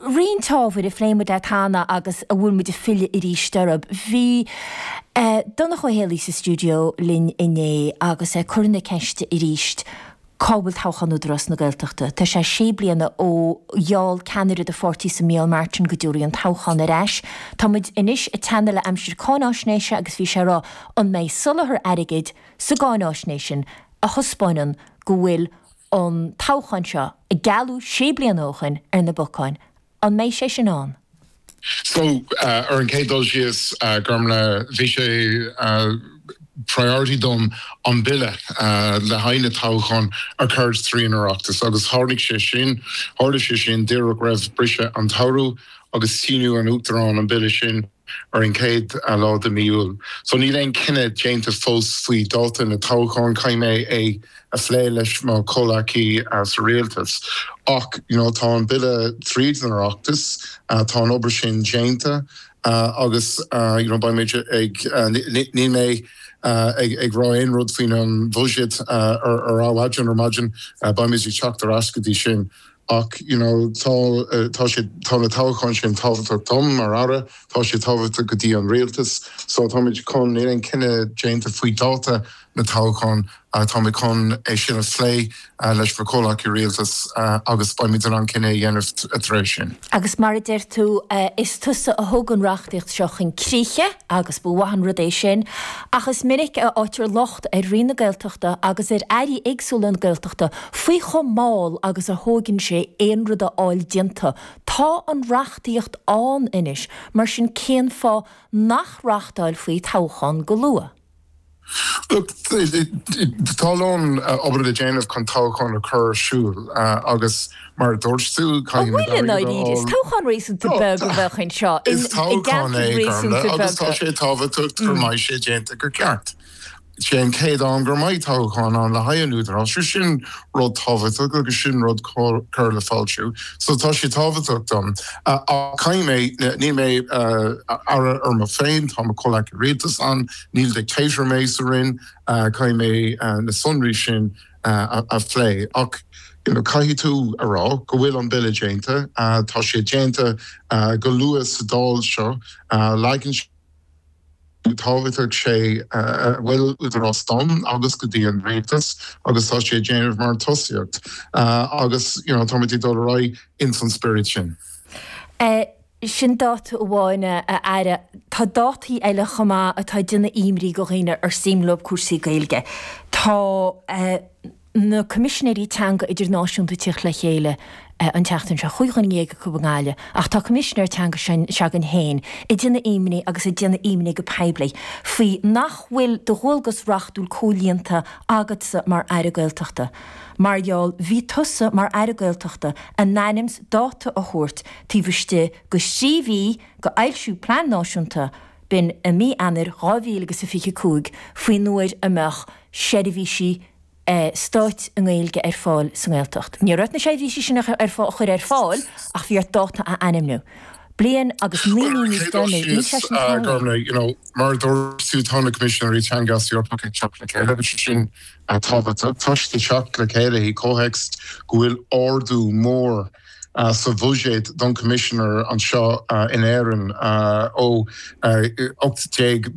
Roinnt ábhair a phléigh muid leat cheana agus a bhfuil muid ag filleadh arís orthu. Bhí Donncha Ó Héalaí sa stiúideo linn inné agus é ag cur na ceiste arís cá bhfuil toghchán Údarás na Gaeltachta? Tá sé sé bliana ó gheall ceannaire do pháirtíse Micheál Martin go dtabharfaí an toghchán ar ais. Tá muid anois ag teannadh le aimsir cáináisnéise agus bhí sé ag rá an mbeidh soláthar airgid sa gcáináisnéis sin a thaispeánann go bhfuil an toghchán seo, a gealladh sé bliana ó shoin, ar na bacáin. An mbeidh sé sin ann? So, ar an chéad dul síos, Gormlaith, bhí sé priority dom an Bille le haghaidh na toghchán a chur trí an Oireachtas agus tháinig sé sin, tharla sé sin díreach roimh briseadh an tsamhraidh agus shínigh an Uachtarán an Bille sin. ar an chéad lá de mí Iúil. So níl aon cinneadh déanta fós faoi dáta na toghcháin, caithfidh mé é a phlé leis mo chomhleacaí sa rialtas. Ach you know tá an bille tríd an Oireachtas, tá an obair sin déanta agus you know beidh muid ag, níl mé ag rá aon rud faoin an bhuiséad ar adhmhaidin ar maidin, beidh muid ag teacht ar ais go dtí sin. Ach you know tá, tá sé, tá na toghcháin sin tábhachtach dom mar Aire, tá sé tábhachtach go dtí an rialtas. So táimid chun, níl aon cinneadh déanta faoi dáta na toghchán, táimid chun é sin a phlé leis mo chomhleacaí rialtais agus beimid in ann cinneadh a dhéanamh tar éis sin. Agus mar a deir tú, is tusa a thug an reachtaíocht seo chun críche agus ba mhaith an rud é sin, ach is minic a fhaightear locht ar Roinn na Gaeltachta agus ar Airí éagsúla na Gaeltachta faoi chomh mall agus a thóigeann sé aon rud a fháil déanta. Tá an reachtaíocht ann anois, mar sin cén fáth nach reáchtálfaí toghchán go luath? Look, tá a lán obair le déanamh chun toghchán a chur ar siúl agus mar a dúirt tú, An caithfidh bhfuil muid i airgead a ndáiríre? Is fháil. toghchán réasúnta beag a bheadh anseo i Is toghchán gceantair é, réasúnta Gormlaith, agus tá beaga. sé tábhachtach go mbeidh sé déanta go ceart. Sé an chéad am gur mbeidh toghchán ann le haghaidh an Údaráis, so sin rud tábhachtach agus sin rud cur le fáiltiú. So tá sé tábhachtach dom. Ach caithfidh mé, níl mé aire ar mo féin, tá mo chomhleacaí rialtais ann, níl dictator mé sa Roinn, caithfidh mé na sonraí sin a phlé. Ach you know caithfidh tú a rá go bhfuil an Bille déanta, tá sé déanta go luath sa Dáil seo, leagann sé, tábhachtach sé a bhfuil údarás dom agus go dtí an rialtas agus tá sé ag déanamh mar tosaíocht agus you know táimid ag dul ar aghaidh ins an spiorad sin. Sin dáta amháin a Aire. Tá dátaí eile chomh maith atá ag déanamh imní go dhaoine ar suim leo cúrsaí Gaeilge. Tá. na Coimisinéirí Teanga Idirnáisiúnta ag tíocht le chéile an tseachtain seo, 15 dhuine acu i nGaillimh, ach tá Coimisinéir Teanga s'againn féin ag déanamh imní agus ag déanamh imní go poiblí faoi nach bhfuil do dhualgas reachtúil comhlíonta agatsa mar Aire Gaeltachta mar gheall bhí tusa mar Aire Gaeltachta in ainm 's dáta a thabhairt taobh istigh go thrí mhí go fhoilsiú Plean Náisiúnta b'in i mí Eanáir 2025 faoin uair a mbeadh seirbhísí stáit i nGaeilge ar fáil sa nGaeltacht. Ní raibh ort na seirbhísí sin a chur ar fáil ach bhí ort dáta a ainmniú. Bliain agus 9 mí níos deireanaí, níl sé sin tarlaithe. Mar a dúirt tú, tá na Coimisinéirí Teanga as Eorpach ag teacht le chéile agus sé sin tábhachtach. Tá siad ag teacht le chéile i gcomhthéacs go bhfuil ardú mór sa bhuiséad don Choimisinéir anseo in Éirinn ó 18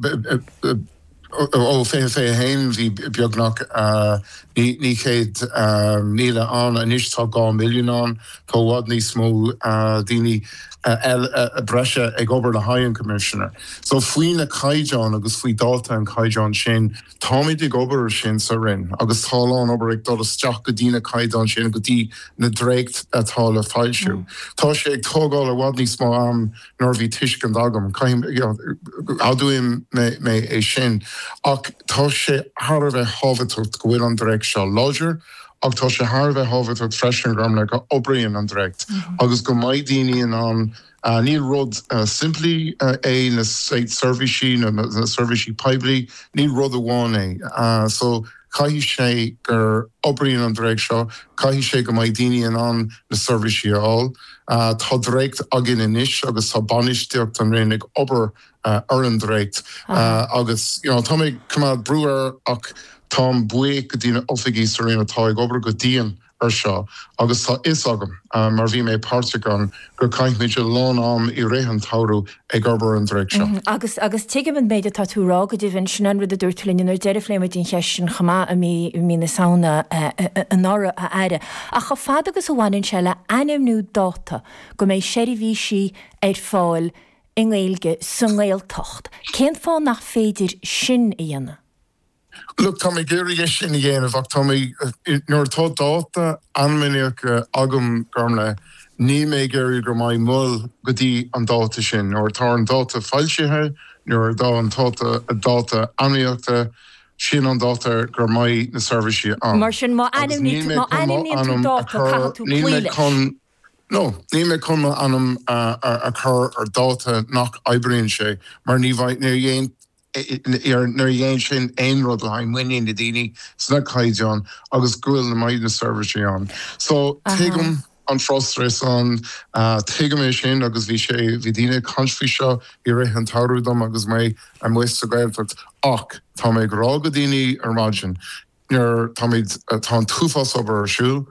Ó 2021 bhí beagnach 900,000 ann, anois tá 2 milliún ann. Tá i bhfad níos mó daoine breise ag obair le haghaidh an Coimisinéir. So faoi na caighdeáin agus faoi dáta an chaighdeáin sin, táimid ag obair ar sin sa Roinn agus tá a lán obair ag dul isteach go dtí na caighdeáin sin, go dtí na dréacht atá le foilsiú. Tá sé ag tógáil i bhfad níos mó am ná bhí tuiscint agam. Admhaím mé é sin. Ach tá sé thar a bheith thábhachtach go bhfuil an dréacht seo láidir ach tá sé thar a bheith thábhachtach freisin, Gormlaith, go oibríonn an dréacht agus go mbeidh daoine in ann, níl rud simplí é na seirbhísí, na seirbhísí poiblí, níl rud amháin é. So caithfidh sé gur oibríonn an dréacht seo, caithfidh sé go mbeidh daoine in ann na seirbhísí a fháil. Tá dréacht againn anois agus tá bainistíocht an Roinn ag obair ar an dréacht agus you know tá mé ag coimeád brú air ach táim buíoch go dtí na oifigigh sa Roinn atá ag obair go dian. ar seo agus tá fhios agam, mar bhí mé páirteach ann, go caithfimid a lán am i rith an tsamhraidh ag obair ar an dréacht seo. Agus, agus tuigim an méid atá tú a rá, go deimhin, sin an rud a dúirt tú linn nuair a deireadh phléigh muid an cheist sin chomh maith i mí, i mí na Samhna anuraidh, a Aire. Ach chomh fada agus a bhaineann sé le ainmniú dáta go mbeidh seirbhísí ar fáil i nGaeilge sa nGaeltacht, cén fáth nach féidir sin a dhéanamh? Look, tá mé ag iarraidh é sin a dhéanamh ach tá mé, nuair atá dáta ainmnithe agam, Gormlaith, níl mé ag iarraidh go mbeidh moill go dtí an dáta sin. Nuair atá an dáta foilsithe, nuair atá an dáta ainmnithe, sin an dáta go mbeidh na seirbhísí ann. Mar sin, má ainmníonn tú dáta, caithfidh tú cloí leis. No, níl mé chun m'ainm a chur ar dáta nach oibríonn sé mar ní bheidh, níor dhein sin aon rud le haghaidh muinín na daoine sna caighdeáin agus go bhfuil na mbeidh na seirbhísí ann. So tuigim an frustration, tuigim é sin agus bhí sé, bhí daoine ag caint faoi seo i rith an tsamhraidh dom agus mé amuigh sa Ghaeltacht ach tá mé ag rá go daoine ar maidin, Nuair táimid, tá an t-uafás obair ar siúl,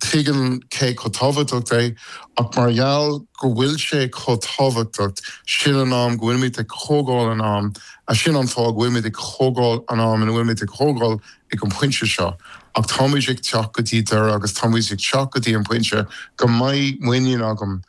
tuigim cé chomh tábhachtach é, ach mar gheall go bhfuil sé chomh tábhachtach, sin an am go bhfuilimid ag tógáil an am, sin an fáth go bhfuilimid ag tógáil an am ina bhfuilimid ag tógáil ag an bpointe seo. Ach táimid ag teacht go dtí deireadh agus táimid ag teacht go dtí an pointe go mbeidh muinín agam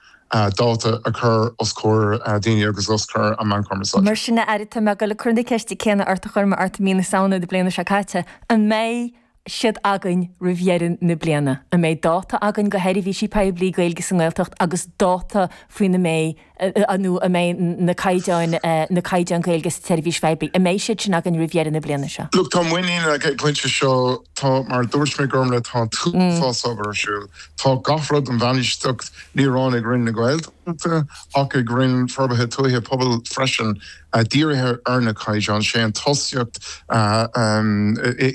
dáta a chur os comhair daoine agus os comhair an meán cumarsáide. Mar sin, a Aire, tá mé ag dul ag cur na ceiste céanna ort a chuir mé ort i mí na Samhna na bliana seo caite, an mbeidh siad againn roimh dheireadh na bliana? An mbeidh dáta againn do sheirbhísí poiblí Gaeilge sa nGaeltacht agus dáta faoina mbeidh, nó a mbeidh na caighdeáin, na caighdeáin Gaeilge sa tseirbhís phoiblí, an mbeidh siad sin againn roimh dheireadh na bliana seo? Look, tá muinín ag an bpointe seo, tá, mar a dúirt mé, Gormlaith, tá an t-uafás obair ar siúl. Tá gach rud an bhainistíocht ní amháin ag Roinn na Gaeltachta ach ag Roinn Forbartha Tuaithe Pobail freisin dírithe ar na caighdeáin. Sé an tosaíocht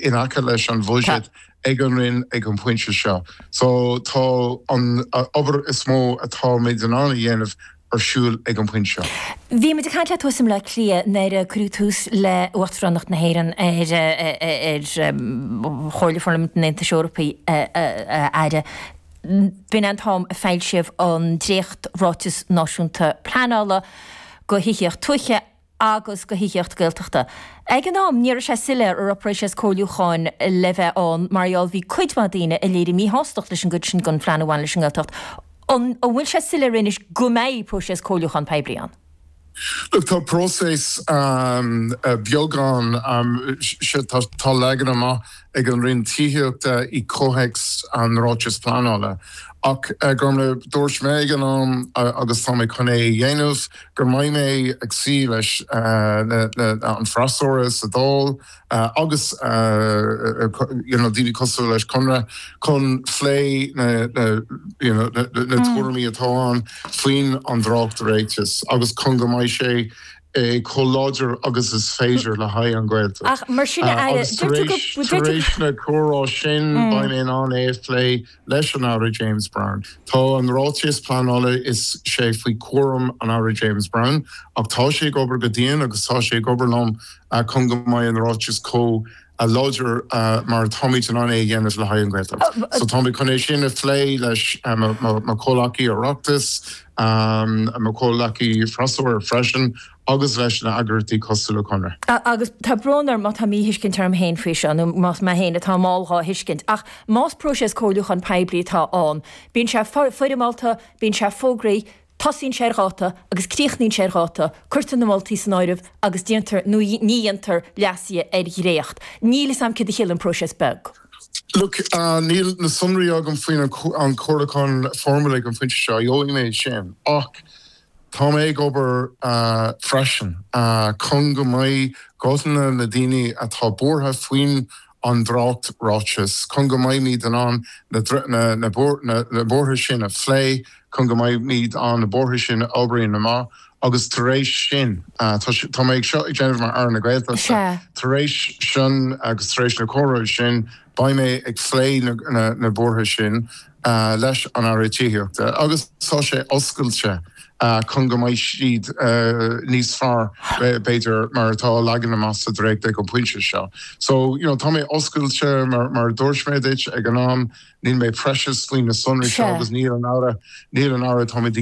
in aice leis an bhuiséad ag an Roinn ag an bpointe seo. So tá an obair is mó atáimid in ann a dhéanamh ar siúl ag an bpointe seo. Bhí muid ag caint leat thuas i mBleá Cliath nuair a cuireadh tús le Uachtaránacht na hÉireann ar Chomhairle Pharlaimint an Aontais Eorpaigh, a Aire. B'in an t-am a foilsíodh an dréacht-Ráiteas Náisiúnta Pleanála do Thithíocht Tuaithe agus do Thithíocht Gaeltachta. Ag an am, ní raibh sé soiléir an raibh próiseas comhairliúcháin le bheith ann mar gheall bhí cuid mhaith daoine a léirigh míshástacht leis an gcuid sin den phlean a bhain leis an nGaeltacht. An bhfuil sé soiléir anois go mbeidh próiseas comhairliúcháin poiblí ann? Look, tá próiseas beag ann, tá leagan amach ag an Roinn Tithíochta i gcomhthéacs an Ráiteas Pleanála. Ach, Gormlaith, dúirt mé ag an am, agus tá mé chun é a dhéanamh, go mbeidh mé ag suí leis an freasúra sa Dáil agus you know daoine cosúil leis Conradh chun phlé na you know na tuairimí atá ann faoin an dréacht-ráiteas agus chun go mbeidh sé chomh láidir agus is féidir le haghaidh an Ghaeltacht. Ach mar sin a Aire, Agus tar éis, tar éis na comhrá sin beidh mé in ann é a phlé leis an Aire James Browne. Tá an ráiteas pleanála is sé faoi chúram an Aire James Browne ach tá sé ag obair go dian agus tá sé ag obair liom chun go mbeidh an ráiteas chomh láidir mar atáimid in ann é a dhéanamh le haghaidh an Ghaeltacht. So táimid chun é sin a phlé leis mo chomhleacaí Oireachtais, mo chomhleacaí freasúra freisin agus leis na eagraíochtaí cosúil le Conradh. Agus tá brón orm má tá míthuiscint orm féin faoi seo, nó más mé féin atá mall dhá thuiscint, ach más próiseas comhairliúcháin poiblí atá ann, bíonn sé foirmeálta, bíonn sé fógraithe, Tosaíonn sé ar dháta agus críochnaíonn sé ar dháta, cuirtear na moltaí san áireamh agus déantar nó ní dhéantar leasuithe ar dhréacht. Níl fhios a'm céard a chiallaíonn próiseas beag. Look, níl na sonraí agam faoin an comhairliúchán foirmiúil ag an phointe seo, gheobhaidh mé sin. Ach tá mé ag obair freisin chun go mbeidh guthanna na daoine atá buartha faoin an dréacht-ráiteas, chun go mbeimid in ann na buartha sin a phlé, chun go mbeimid in ann na buartha sin a oibriú amach agus tar éis sin, tá mé ag seo ag déanamh mar Aire na Gaeltachta, tar éis sin agus tar éis na comhrá sin, beidh mé ag phlé na buartha sin leis an Aire Tithíochta agus tá sé oscailte. chun go mbeidh siad níos fearr, b'fhéidir, mar atá leagan amach sa dréacht ag an bpointe seo. So, you know, tá mé oscailte, mar a dúirt mé duit ag an am, níl mé precious faoi na sonraí seo agus níl an Aire, níl an Aire, táimid.